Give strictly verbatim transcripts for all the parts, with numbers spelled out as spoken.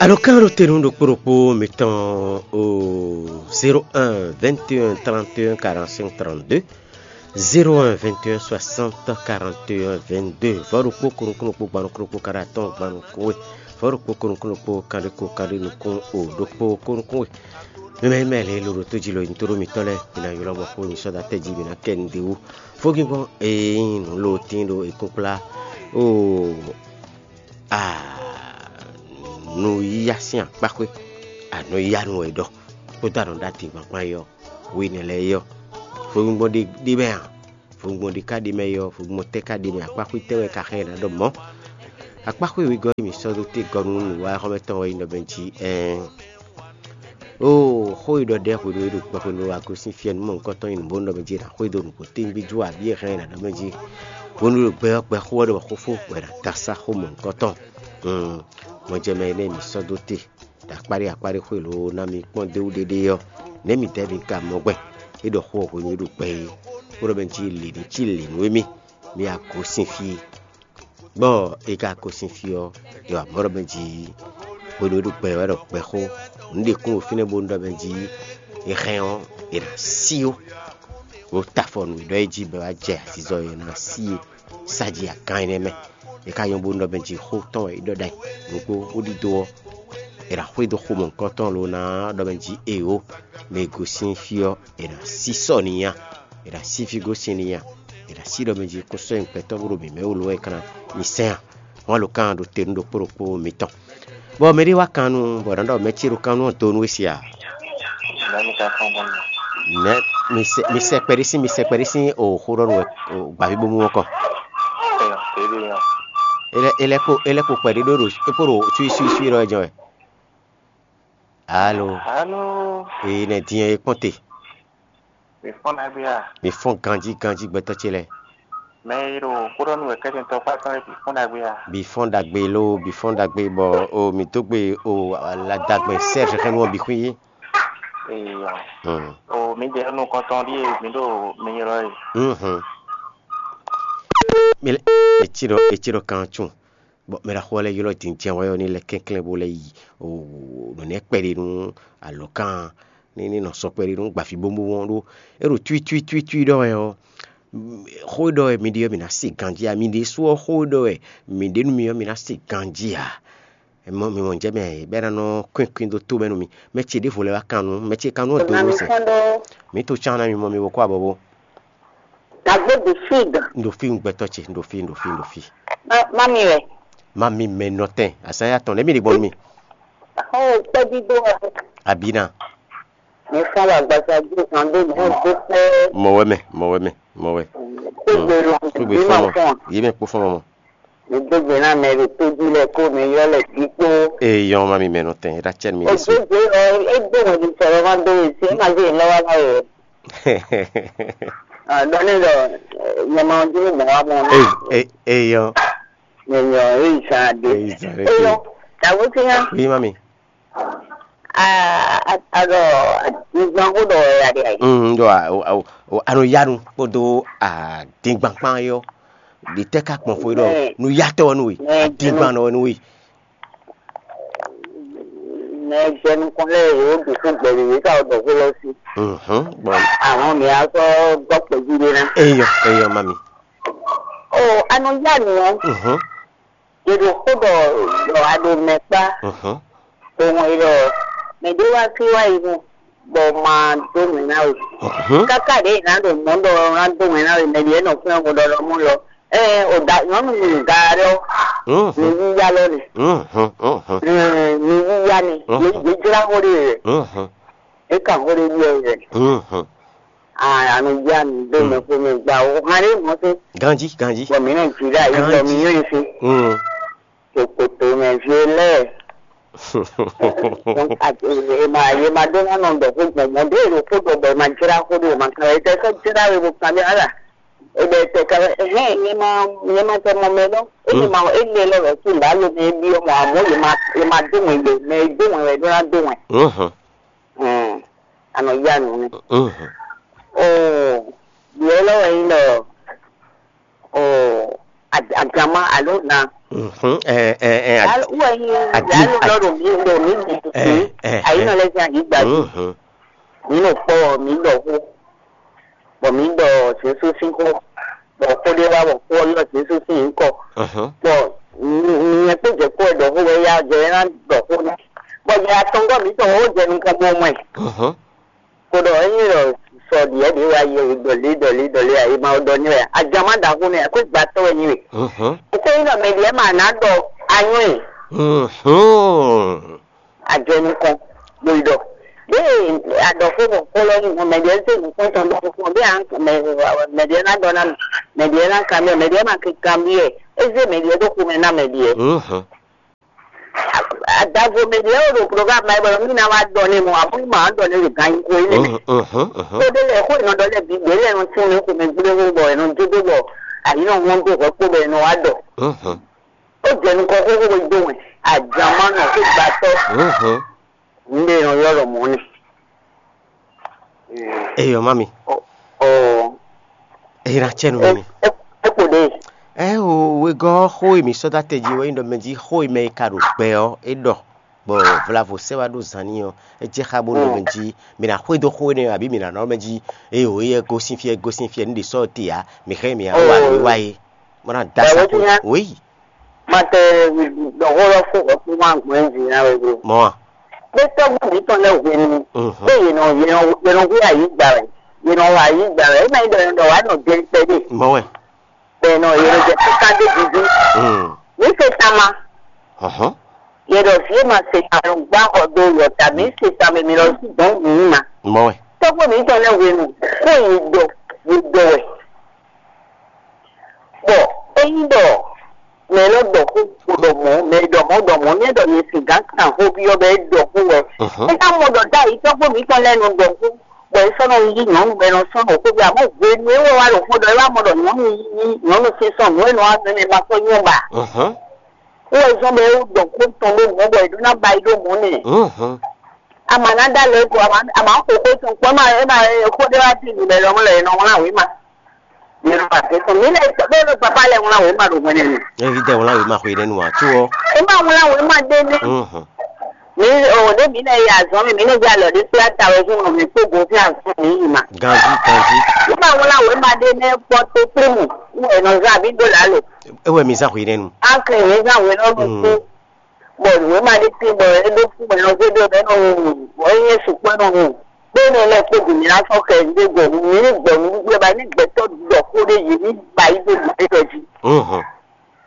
Alɔkánɖotenu ɖokpó ɖokpó mitɔn o zéro un vingt et un trente et un quarante-cinq trente-deux, zéro un vingt et un soixante quarante et un vingt-deux, vɔ̌ ɖokpó ko nukún ɖokpó gban nukún ɖokpó kanɖé atɔ́ɔ́n gban nukún we, vɔ̌ ɖokpó ko nukún ɖokpó kanɖé ko kanɖé nukún o ɖokpó ko nukún we. Mímɛ́ mímɛ́ lě e lo ɖo tó jí lo nyi tó ɖó mitɔ́ lɛ́ɛ, mi ná ylɔ́ mɔ xó nyi sɔ́ dó atɛ jí, mi ná kɛ nǔɖé wú. Fógíngɔ́n e nyí nǔ lo tín ɖo e kúnkplá o anɔyíyá sín akpáxwé, anɔyíyá nú wɛ é ɖɔ, kpódó anɔɖatíngbɔn kpán é ɔ́, hwenu lɛ́ɛ é ɔ́, fowungbɔn ɖé ɖé mɛ ǎ, fowungbɔn ɖé ka ɖé mɛ é ɔ́, fowungbɔn tɛ́ ka ɖé mɛ, akpáxwé tɛ́ wɛ ka xá ɛ ná ɖɔ mɔ̌? Akpáxwé wegɔ́ e mǐ sɔ́ dó te gɔ́ nú nǔwiwa xɔ́mɛ tɔn wɛ nyí ɖɔ mɛ jí ɛɛn. Oo, xó e ɖɔ ɖɛ́ hwenu e ɖo gbɔ hwenu e agosín fiɛ nú mɔ̌hunkɔtɔn nyi nǔbónú ɖɔ mɛ jí è nǎ xwedó nǔgbó tɛ́ngbí jó abǐ è hɛn è nǎ ɖɔ mɛ jí. Hwenu e ɖo gbɛ ɔ́ gbɛxó ɔ́ ɖɔ xófó bɔ è nǎ dó asá xó mɔ̌hunkɔtɔn. Mɔjɛmɛ énɛ́ e mǐ sɔ́ dó te ɖo akpáɖé akpáɖé xwé lǒ ná mi kpɔ́n dó wú ɖéɖé ɔ́, nɛ̌ midɛɛ mi ka mɔ gbɛn? É ɖɔ xó ɔ́ hwenu e ɖo gbɛ é, bó ɖɔ mɛ jí lě ní cí lě nú émí, mi agosín fí. Bɔ è ka ko sin fí ɔ́, è wa mɔ̌ ɖɔ mɛ jí hwenu e ɖo gbɛ wɛ ɖɔ gbɛxó, nǔ ɖě kún ɖo fínɛ́ bónú ɖɔ mɛ jí è hɛn ɔ́, è nǎ sí ó. Wo ta afɔ nǔ e ɖɔ é jí bɔ é wá jɛ azizɔ e è nǎ sí é sá jí agán énɛ́ mɛ. È ka nyɔ́ bónú ɖɔ mɛ jí xó tɔn wɛ é ɖɔ ɖ'ayǐ nukpó bó ɖidó ɔ́, è nǎ xwedó xomɔ̌hunkɔtɔn lo ná ɖɔ mɛ jí eǒ, mɛ e gosín fí ɔ́, è nǎ sí sɔ n'i nya. È nǎ sí fí gosín n'i nya. È nǎ sí ɖɔ mɛ jí kún sɔ́ nyi gbɛtɔ́ bó ɖo mǐ mɛ wú lo wɛ é ka ná nyi sɛ́n a? Wǎn lo kan ɖo te nú ɖokpó ɖokpó mitɔn. Bɔ mɛ ɖé wá kan nú bɔ è nǎ ɖɔ mɛ ce ɖo kan nú ɔ́ do nú we se a? Nɛ̌ mi ka kpɔ́n gbɔn mɛ? Nɛ̌ mi sɛ mi sɛ kpɛɖé sín mi sɛ kpɛɖé sín o xó ɖɔ nú wɛ o gbǎví bó mú ɔ́ kɔ? Ɛyɔ, é ɖo nyɔ. É lɛ́ é lɛ́ kpo é lɛ́ kpo kpɛɖé ɖó ɖo é kpo ɖo suí suí suí ɖɔ wɛ jɛ́n wɛ. Alo. Alo. Ee, nɛ din ɔ́, é kpɔ́n te. Mi fɔ́n ɖagbe a? Mi fɔ́n ganjí ganjí gbɛtɔ́ ce lɛ́ɛ. Mɛ e ɖo xó ɖɔ nú wɛ kɛ́tɛ́ntɔ́ kpá tɔn lɛ́ɛ bǐ fɔ́n ɖagbe a? Bǐ fɔ́n ɖagbe ló, bǐ fɔ́n ɖagbe bɔ o mǐ dó gbe o aladagbɛn Serge xɛnu ɔ́ bǐ xwí. Eyɔ. Hmm. O mǐ ɖe nukɔntɔn ɖíe mǐ ɖo mi ylɔ́ e. Mhm. Mi lɛ etí ɖɔ etí ɖɔ kan tún. Bɔ mɛ ɖaxó ɔ́ lɛ́ ylɔ́ din jɛ́n wɛ ɔ́ ní lɛ́ kɛnklɛ́n bó lɛ́ yi nǔnɛ́ kpɛɖé nú alɔ̌kan ní ní nɔ sɔ́ kpɛɖé nú gbǎví bóbó ɔ́ ɖó é ɖo twítwítwítwí ɖɔ wɛ ɔ́, xó e ɖɔ wɛ mi ɖe ɔ́, mǐ ná se ganjí ǎ. Mi ɖésú ɔ́, xó e ɖɔ wɛ mǐ ɖe nú mi ɔ́, mi ná se ganjí ǎ. Mɔ mi mɔ jɛ mɛ bɛ́ ná nɔ kwín kwín dó tó mɛ nú mi. Mɛ ce ɖěvo lɛ́ wá kan nú mɛ ce kan nú ɔ́ dó nú sɛ. Mǐ to cán ná mi mɔ mi bo kó abɔbó. Dagbe de fig. Ndo fi gbɛtɔ ce, ndo fi, ndo fi, ndo fi. Ma, mami wɛ. Mami mɛ nɔtɛn, asaya tɔn, lɛ mi ɖe gbɔn mi. Ho kpɛdido wɛ. Abina. Mi fɔn wa gbasa ju kan do mo do pɛ. Mɔ wɛ mɛ, mɔ wɛ mɛ, mɔ wɛ. Kugbe lɔ. Kugbe bi ma fɔn mɔ. Fɔn. Yi mɛ kpo fɔn mɔ. Mi do gbe na mɛ ɖo to ji lɛ ko mi yɔ lɛ bi kpo. Ee, yɔn mami mɛ nɔtɛn, Rachel mi O Yesu. Do gbe lɔ, e do mo di sɔrɔ ma do e se ma se lɔ wa la o. Ah, dɔnni dɔ, nyɛ ma dúró mɔ wa mɔ. Ee, ee, ee, yɔn. Nyɛ nyɔ, ee, sa de. Ee, sa de. Ee, yɔn. Tawo ti yan. Oui, mami. Ah, a, a dɔ, a, nyigban ko dɔ ya de ayi. Mm, dɔ a, o, o, o, ano yanu kpodo a dingban kpan yɔ. Di tɛ ka kpɔn fo dɔ. Ɛ. Nu yatɔ nu we. Ɛ, a dingban nɔ nu we. Mɛ jɛ nukɔn lɛ yóò dukú gbɛlú yìí ká dɔ kó lọ sí. Mhm, bɔn. Àwọn mi á sọ gbọ́ pẹ̀lú rẹ náà. Eyɔ, eyɔ, mami. O, anɔ yá nìyẹn. Mhm. Yèɖo xó ɖɔ ɖɔ a ɖo mɛ kpá. Mhm. Ɖo ŋɔ yi ɖɔ mɛ ɖé wá sí wá yi nu bɔ ma dó mɛ ná we. Mhm. Káká ɖě yě ná ɖo mɔ̌ ɖɔ ná dó mɛ ná we mɛ ɖě nɔ fún ɛmɔ ɖɔ ɖɔ mɔ lɔ. Ɛ o da nyɔnu mi ga ɖɔ. Mhm. Mi yíyá lɔ ni. Mhm, mhm. Ɛ mi yíyá ni. Mhm. Yé yé jlá xó ɖe yɛ. Mhm. É kan xó ɖe yɛ yɛ. Mhm. Ah, anu dza mi do mɛ ko mɛ gba o. Hàn ɖe mɔ se. Ganji, ganji. Bɔ mi nɔ dzi ɖe ayi sɔ mi yɔ yi se. Mm. Kòkòtò mɛ vi lɛ. Ema yema ɖo na nɔ ɖɔ ko gbɔn mɔ ɖe ɖo ko ɖɔ bɔ ema dzra ko ɖo ema kan ete sɔ dzra we bo kan ɖe ala. Ebe ete kan hɛn yema yema tɛ mɔ mɛ lɔ. Ebe ma ele lɔ lɔ tu la lo mɛ bi mɔ amɔ yema yema do mɛ le mɛ do mɛ wɛ ɖo na do mɛ. Mhm. Ɛɛ, anɔ ya nu ne. Mhm. Oo, biɛ lɔ wɛ yin dɔ, oo, Aganma alo na. Mhm, ɛ ɛ ɛ ad- Alo wɛ nyi adi alo ad- lɔ ɖo mi ɖo mi mi ɛ ɛ ɛ ayinɔ lɛ sin ayigba ji. Mhm. Mi nɔ kpɔ mi ɖɔ xó, bɔ mi ɖɔ Jesu sín xó, bɔ xó ɖé wá bɔ xó ɔ́ yɔ Jesu sín nyǐkɔ. Mhm. Bɔ mi mi nyɛ kpó jɛ kpó wɛ ɖɔ xó wɛ ya jɛ ɛ ná ɖɔ xó nɛ. Bɔ jɛ atɔngɔ́ mǐtɔn wɛ wó jɛ nukɔn bó mɔ ɛ. Mhm. Ko ɖɔ ényí ɖɔ sɔ ɖiɛ ɖě wá yɛ ɖɔlé ɖɔlé ɖɔlé ǎ, è ma ɖɔ n'i wɛ a, ajan má ɖaxó nɛ́ ǎ, xwé gbàtɔ́ wɛ n'i wɛ. Mhm. Ényí ɖɔ mɛ ɖiɛ ma ná ɖɔ anyɔ́ ɛ, Mhm. a jɛ nukɔn, bó yi ɖɔ. Ɖěe a ɖɔ xó bɔ xó lɔ nyí hɔn, mɛ ɖiɛ zé nukɔn tɔn ɖɔ xó fún ɔ, bí a mɛ mɛ ɖiɛ ná ɖɔ ná mɛ, mɛ ɖiɛ ná kanbyɔ́, mɛ ɖiɛ ma kanbyɔ́ ɛ, é zé mɛ ɖiɛ ɖó xomɛ ná mɛ ɖiɛ. Mhm. Adavo mɛ ɖě wɛ ɖo program ma bɔ mí ná wá ɖɔ n'i mɔ̌, amɔ̌ mí ma wá ɖɔ n'i ɖo ganxixo énɛ́ mɛ. Mhm, mhm, mhm. Xó ɖé lɛ́ɛ, xó e nɔ ɖɔ lɛ́ɛ bǐ, ɖě lɛ́ɛ nɔ tín nú xomɛ gblé xó bɔ è nɔ jó dó bɔ ayǐ nɔ hɔn dó hwɛ kpó bɔ è nɔ wá ɖɔ. Mhm. Ó jɛ nukɔn xóxó bó dó wɛn, ajan má nɔ xó gbatɔ́. Mhm. Nǔɖé e nɔ ylɔ́ ɖɔ mɔ̌ nɛ́. Eyɔ mami. Ɔ, ɔ, Eyi na cɛ nu mi. É kpo ɖe. Ɛ o, wegɔ́ xó e mǐ sɔ́ dó atɛ jí wɛ nyí ɖɔ mɛ jí xó e mɛ e ka ɖo gbɛ ɔ́ é ɖɔ, bɔ vlavo sɛ wá ɖó zan n'i ɔ́, é jɛ xá bó ɖɔ mɛ jí mǐ ná xwedó xó énɛ́ ɔ́, abǐ mǐ ná nɔ mɛ jí eye o, éyɛ́ gosín fí, é gosín fí, nǔ ɖě sɔ́ te ǎ, mǐ xá mǐ wá wá nǔ e wá é, bó ná dó asá xó. Wěyi. Mate ɖɔ xó lɔ fó hwɛ̌kúnú agbɔ̌n jí ná wɛ ɖo. Mɔ̌ a? Ɖé tɔ́gbó mǐtɔn lɛ́ɛ hwenu, ɖé yě nɔ yě nɔ yě nɔ hú ayǐ gba wɛ, yě nɔ hú ayǐ gba wɛ, é ma nyí ɖɔ yě nɔ ɖɔ wǎ nɔ jɛ kpɛɖé. Mɔ̌ wɛ. Bɔ yě nɔ yě nɔ jɛ kíká dó gúgú. Mǐ se tama. Hɔ̌n. Yě ɖɔ vǐ e ma se tama nɔ gbá xɔ dó yɔ ta, mǐ se tama mǐ lɔ sí dɔ̌n mǐ ma. Mɔ̌ wɛ. Tɔ́gbó mǐtɔn lɛ́ɛ hwenu, xó yě ɖɔ, yě ɖɔ wɛ. Bɔ ényí ɖɔ mɛ lɔ ɖɔ xó, xó ɖɔ mɔ̌, mɛ e ɖɔ mɔ̌ ɖɔ mɔ̌, nɛ́ ɖɔ nyɛ sin gǎn kan xó byɔ́ bɔ é ɖɔ xó wɛ. É ná mɔ ɖɔ ɖ'ayǐ tɔ́gbó mǐtɔn lɛ́ɛ nɔ ɖɔ xó, bɔ é sɔ́ nɔ yí nyɔ̌nu bɔ è nɔ sɔ́ ɖo xó byɔ́, amɔ̌ hwenu e é wɛ wá ɖo xó ɖɔ é wá mɔ ɖɔ nyɔ̌nu yí nyɔ̌nu sín sɔ́ nǔ e nɔ wá mɛ mɛ ma sɔ́ nyɔ́ ba. Wú wɛ zɔ́n bɔ é ɖɔ xó tɔn ɖó mɔ̌ bɔ è ɖó ná ba yi ɖó mɔ̌ nɛ. A ma ná ɖó alɔ é ko, a ma xo xó tɔn kpɔ́, é ma é ma xó ɖé wá dí nǔ lɛ́ɛ lɔmɔ̌ lɔ è nɔ wlán wěma. Mǐ nɔ ba tɛ́ tɔn. Mǐ lɛ́ ɖó ɖo papá lɛ́ɛ wlán wěma ɖo hwɛ̌nɛ́nu. Evidɛ wlán wěma xwe nɛ́nu ǎ, có ɔ́. É ma wlán wěma ɖé nɛ́. Mhm. Mǐ o ɖě mǐ lɛ́ yi azɔ̌ mɛ, mǐ lɛ́ yi alɔ ɖé kplá ta wɛ zɔ́n mǐ kpó gǒ fín azɔ̌ mǐ yi ma. Ganjí, ganjí. É ma wlán wěma ɖé nɛ́ kpɔ́ tó kplé mù, wú è nɔ zán abǐ ɖó lǎ lo. É wɛ mi zán xwe nɛ́nu. Á kɛ yě zán wě nɔ ɖo kpó. Bɔ wěma ɖé tín bɔ é ɖó kú mɛ nɔ xwé ɖé mɛ nɔ wu, bɔ é nyɛ sukpɔ́ nɔ wu. Bó nɔ lɛ́ kpó gǔ mǐ ná sɔ́ kɛ ɖé gbɔ, mǐ ní gbɔ nǔɖuɖu ɛ ba ní gbɛtɔ́ ɖɔ xó ɖé yě ní ba yí dó gǔ ɖé jí. Mhm.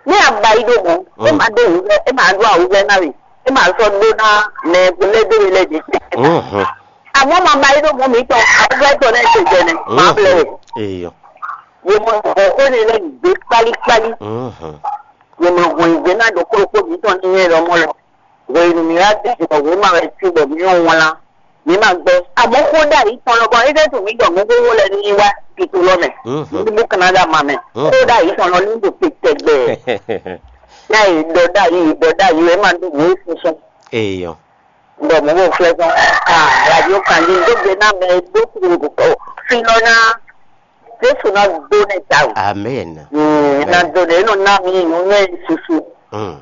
Ní a ba yí ɖó mɔ̌, é ma ɖó wǔvɛ́, é ma ɖó awǔvɛ́ ná we, é ma sɔ́ ɖó ná mɛ lɛ́ dó we lɛ́ ɖě. Mhm. Àmọ́ ma ba yí ɖó mɔ̌ mǐtɔn, awǔvɛ́ tɔn lɛ́ɛ te jɛ nɛ, ma blɛ we. Eyɔ. Yě mɔ xó ne lɛ́ gbé kpálíkpálí. Mhm. Yě mɔ hɔn yě gbé ná ɖo kplɔ́kpó mǐtɔn ní nyɛ lɔmɔ̌ lɔ. Hwenu mǐ wá tɛ́ bɔ wěma wɛ cí bɔ mǐ nɔ wlán, mǐ ma gbɛ́. Àmọ́ xó ɖ'ayǐ tɔn lɔ gbɔn, é jẹ́ tun mǐ ɖɔ nǔ xóxó lɛ́ɛ ní wá tito lɔ mɛ, ní bú Kanada ma mɛ. Xó ɖ'ayǐ tɔn lɔ ní ɖo te tɛgbɛ. Yá yě ɖɔ ɖ'ayǐ, yě ɖɔ ɖ'ayǐ, é ma ɖo nǔ e sísɔ́. Eyɔ. Bɔ mɔ̌ bó flɛ́ sɔ́, ah, radio kan ɖi dó gbe ná mɛ e dó kúrú fínɔ́ ná Jesu ná dó nɛ tawun. Amen. Mm, ná dó nɛ, é nɔ ná mi nǔ nɛ susu. Mm.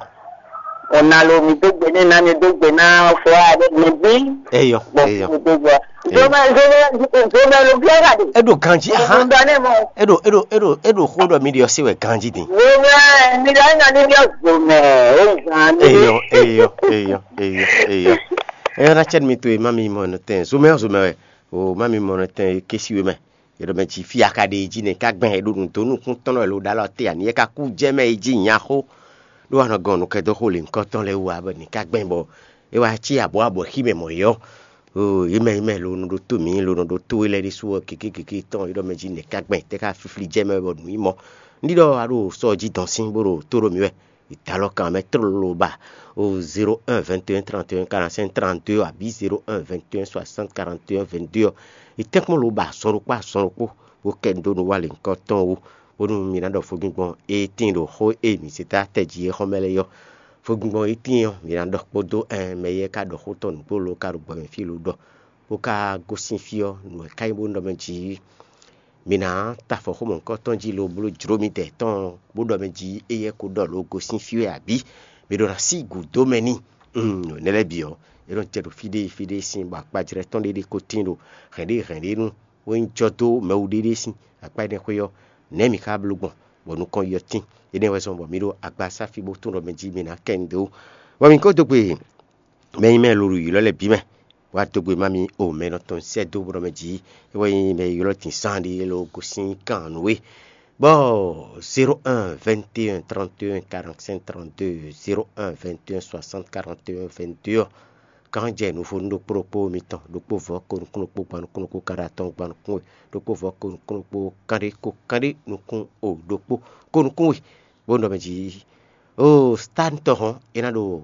Ɔ̀nà lo mi dó gbe nɛ ná mi dó gbe ná fɔ aɖe mi bí. Eyɔ, eyɔ. Zomɛ zomɛ zomɛ lo bí ɛ̀ka de. Eɖo ganji ahan. Ŋun dɔ ne mɔ. Eɖo eɖo eɖo eɖo xó ɖɔ mi ɖi ɔsí wɛ ganji din. Zomɛ mi ɖɔ ɛnɔ ni bi ɔ zomɛ o zan mi. Eyɔ eyɔ eyɔ eyɔ eyɔ. Eyɔ na cɛ mi to e ma mi mɔ nɔ tɛn zomɛ zomɛ wɛ o ma mi mɔ nɔ tɛn kesi we mɛ. Yě ɖɔ mɛ jí fí a ka ɖe yi jí nɛ ká gbɛn e ɖo nǔ dó nukún tɔn nɔ e lo ɖó alɔ te ani e ka kú jɛ mɛ yi jí nya xó. Ɖó wa nɔ gɔn nǔkɛdó xó lě ŋkɔ tɔn lɛ́ɛ wú ǎ bɔ nǐ ká gbɛn bɔ é wá cí abɔ̌ abɔ̌ xí mɛ mɔ̌ é ɔ́. Oo, yě mɛ yě mɛ lo nɔ ɖó tó mǐ lo nɔ ɖó tó é lɛ́ɛ ɖésú ɔ́, gěgé gěgé tɔn é ɖɔ mɛ jí nǐ ká gbɛn tɛ́ ká flíflí jɛ mɛ bɔ nǔ yi mɔ. Ní ɖɔ a ɖo sɔ jí dɔn sín bó ɖo tó ɖo mǐ wɛ. Ìdálɔ kan mɛ tlóló ba o zéro un vingt et un trente et un quarante-cinq trente-deux abǐ zéro un vingt et un soixante quarante et un vingt-deux ɔ́. Ìtɛ́nkpɔ́n ló ba azɔn ɖokpó azɔn ɖokpó bó kɛ nu dó nú wa lěhunkɔtɔn wú, bónú mi ná ɖɔ fogbíngbɔn e tíin ɖo xó e mǐ zé dó atɛ jí é xɔ́ mɛ lɛ́ɛ ɔ́. Fogbíngbɔn e tíin ɔ́, mi ná ɖɔ kpódó ɛn mɛ e ka ɖɔ xó tɔn nǔgbó lo ka ɖo gbɔ mɛ fí lo ɖɔ, bó ka gosín fí ɔ́, nǔ e ka nyí bónú ɖɔ mɛ jǐ Mi ná ta afɔ xó mɔ̌hunkɔtɔn jí lobo bló jlǒ midɛɛ tɔn, bó ɖɔ mɛ jí éyɛ́ ko ɖɔ lǒ gosín fí wɛ abǐ? Mi ɖo ná sí gǔdo mɛ n'i. Nɛ̌ lɛ́ɛ bǐ ɔ́, é nɔ jɛ ɖo fí ɖé fí ɖé sín bɔ akpajlɛ́ tɔn ɖé ɖé ko tín ɖo hɛ̌nɖéhɛ̌nɖénu wɛ nyí jɔ dó mɛwúɖéɖé sín akpá énɛ́ xwé ɔ́, nɛ̌ mi ka bló gbɔn bɔ nukɔn yi ɔ́ tín? Énɛ́ wɛ zɔ́n bɔ mi ɖo agbasáfi bó tunwun ɖɔ mɛ jí mi ná kɛ nu dó. Bɔ mi ko dó gbe mɛ e nyí mɛ e lo ɖo ylɔ́ lɛ́ɛ bǐ mɛ, wá dó gbe má mi o mɛ nɔ tɔn sɛ́ dó bó ɖɔ mɛ jí é wɛ nyí mɛ e ylɔ́ din zán ɖé lo gosín kan nǔ é. Bɔ zéro un vingt et un trente et un quarante-cinq trente-deux, zéro un vingt et un soixante quarante et un vingt-deux ɔ́, kan jɛ nǔvonú ɖokpó ɖokpó mitɔn, ɖokpó vɔ̌ ko nukún ɖokpó gban nukún ɖokpó kanɖé atɔ́ɔ́n gban nukún we, ɖokpó vɔ̌ ko nukún ɖokpó kanɖé ko kanɖé nukún o ɖokpó ko nukún we, bó nɔ mɛ jí o stánitɔ hɔn é ná ɖo